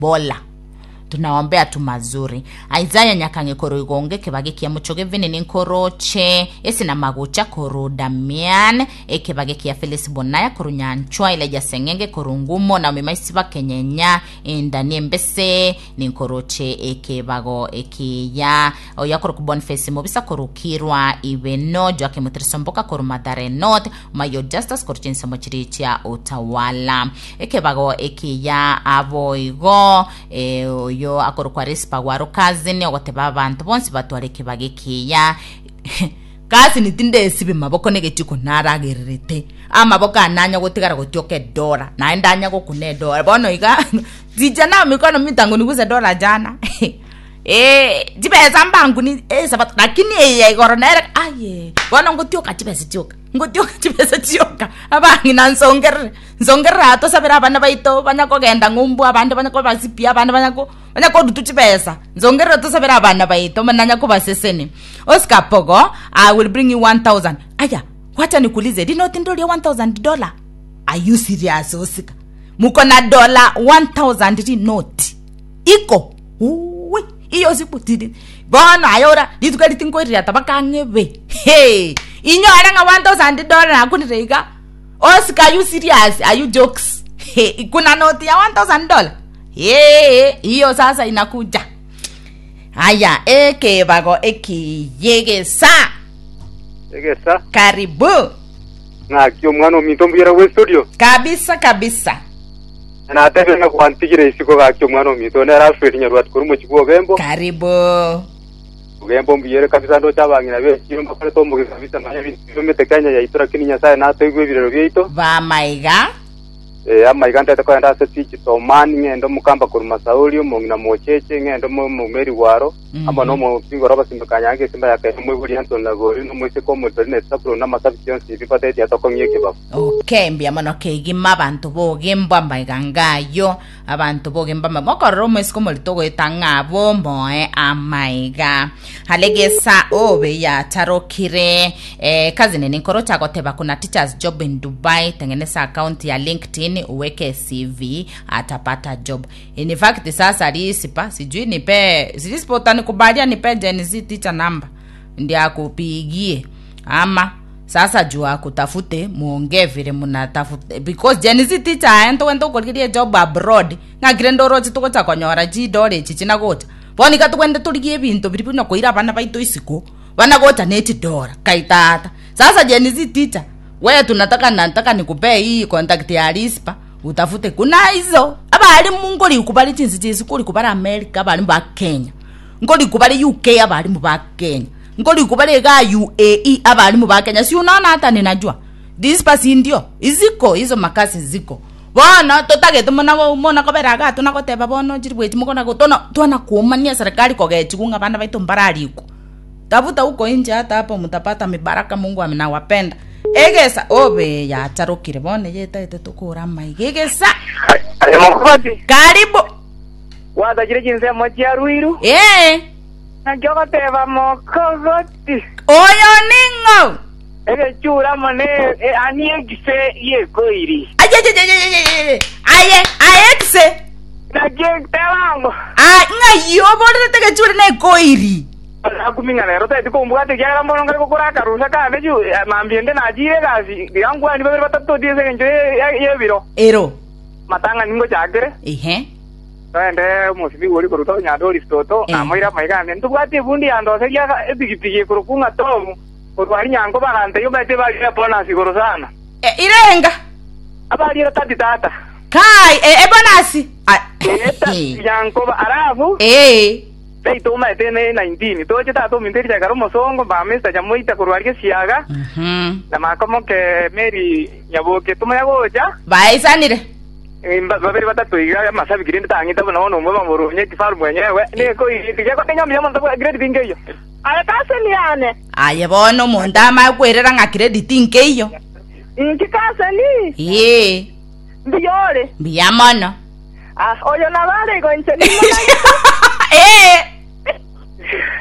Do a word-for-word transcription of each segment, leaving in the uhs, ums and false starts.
Bola tunaombea tu mazuri. Isaiah Nyakange koro igonge kebage kia muchoge vini nkoroche esina magocha koro Damian ekebage kia Felix Bonaya koro Nyanchwa Elijah Sengenge koro Ngumo na mimaisi bakenyenya endani embese ninkoroche ekebago ekiya oya koro Boniface Mobisa koro Kirwa Ibeno Joakim Trisomboka koro Mathare North Mayo Justus koro chinsemo chiri chia Utawala ekebago ekiya aboigo eh, oyo akorokwa Rispa Gwaro cousin ogoteba abantu bonsi batware ekebago ekiya. Kasi tindesibi maboko negechiko naragererete amaboko ananya gotigara gotioka edora naende anya gokuna edora bono iga vijana mikono mitango niguse dola jana. Eh, chibesa mbangu ni eh, sabato lakini eye igoro nere aye bono ngotioka chibesa chioka ngotioka chibesa chioka abang'ina nsongerere nsongerere atosabera abana baito banya kogenda ng'umbu abande banya kobasipia abande banya ko banya korutu chibesa nsongerere tosabera abana baito mananya kobaseseni. Oscar Pogo, I will bring you one thousand. Aya, wacha nikuulize, linoti ndio one thousand dollar? Are you serious, Oscar? Muko na dola one thousand rinoti iko? Uwe iyo siku tiri bono ayora rituko ritinkoirira tabakang'ebe. Hey, inyore ng'a one thousand dollar nakunire iga. Oscar, are you serious? Are you jokes? Hey, kuna noti ya one thousand dollar? Hey, hiyo sasa inakuja. Haya, ekebago ekiyegesa. Egesa. Karibu. Ng'aki omwana ominto, mbuyera bwe studio? Kabisa kabisa. Natebe ng'a kwantigire isiko gaki omwana ominto nera Alfred Nyarwat kuri mochibu Ogembo. Karibu. Ogembo mbuyere kabisa, ndocha abang'ina bechiro mbakorete omogi kabisa manya bintu biomete Kenya yaito, lakini Nyasaye natoigwa ebirero biaito. Bamaiga. Eh, amaiga ntete kogenda ase digital man ng'ende omokamba korwa Masauri omong'ina mocheche ng'ende omomeri gwaro Mhm. amo nomopingoro abasimba kanyange esimba yakaire omoibori Anton Lagori nomoiseke omotori nesapuro namasabiki yonsi bibateti atokong'ia ekebago. Okay, mbuya mono keigima abantu bogemba amaiga ngayo abantu bogemba mokorora omwesiko omorito goeta ng'abo moe amaiga halegesa obe yatarokire. Eh, kazi nene nkoro chagoteba kuna teachers job in Dubai, tengeneza account ya LinkedIn, uweke C V, atapata job. In fact sasa lisipa sijui nipe sijui sipa utanikubalia nipe Gen Z teacher number ndi akupigie ama sasa juu akutafute muongee vile munatafute, because Gen Z teacher aento wento ukorigeria job abroad ng'akire ndorochi tugocha konyora chidole echi chinagocha bono iga tugende torigie ebinto biri buna koira abana baito isiko banagocha nechidora kaitata. Sasa Gen Z teacher, we tunataka nataka nikupee hii contact ya Rispa utafute. Kuna hizo abalimu ngori kubali chinsi chisi kuri kubali America, abalimu ba Kenya ngori kubali U K, abalimu ba Kenya ngori kubali ga U A E, abalimu ba Kenya. Si unaona hata ninajua Rispa, si ndio? Iziko hizo makasi ziko bono totagete mona mona koberaga tunagoteba bono chiri bwechi mukona tona twana kuumania serikali kogechigu ng'a bana baito mbararikwo. Tafuta huko nje, hata hapo mtapata mibaraka. Mungu aminawapenda. Egesa obe yacharukire bono yetaete tukura maiga egesa. Aye mokobati. Karibu. Wathachire chinsemo chia Ruiru. Eh. Nakio goteba mokogoti. Oyo ning'o? Egechura mone ani egise yekoiri. Aye aye aye ekise. Nakio tebango. Ah, ng'ai oborerete gechure nekoiri? Akuming'ana rero taeti kombwate kiagera mbono ngari gokora akarusa kande ju mambiende nachire egasi ndigankwani babere batatu tie ase eng'encho ye- yebiro. Ero. Matang'ani ngochakere. Ehe. Toende omosibi ori koruta onyandori toto. Eh. Namoira maigane ntobwate ebundi yandoseria epigipigi ekoroku ng'a tomu korwari nyango bagante omanyete barire bonus igoro sana. E, irenga. Abarire tati tata. Kai e, e bonasi. Eta nyankoba alafu eh taito omanyete ne nineteen toche tata ominteri chakara omosongo ba Mister Nyamoita korwari gesiaga mhm na makomoke Mary Nyaboke tumanya gocha. Baisanire. Eh, mba- babere batatu iga amasabiki rinde tang'ita buna bono omwe bamorunye kifaru mwenyewe niko tigekotinya mbuya mono grade tingeyo. Aye kaseni yane. Aye bono omonto amakwerera ng'a credit nkeiyo. Nki kaseni? Ee. Mbiyore. Mbuya mono. Ah, oyo nabare igo inche nimona. Ee.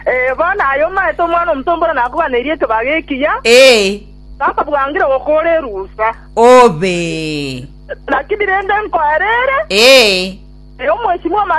Eh, bono ayo maete omwana omutombora nakubaneirie ekebaga ekiya. Ee. Sasa bwangire gokora erusa. Obe. Lakini rende nkoerere. Ee. Omweshimiwa.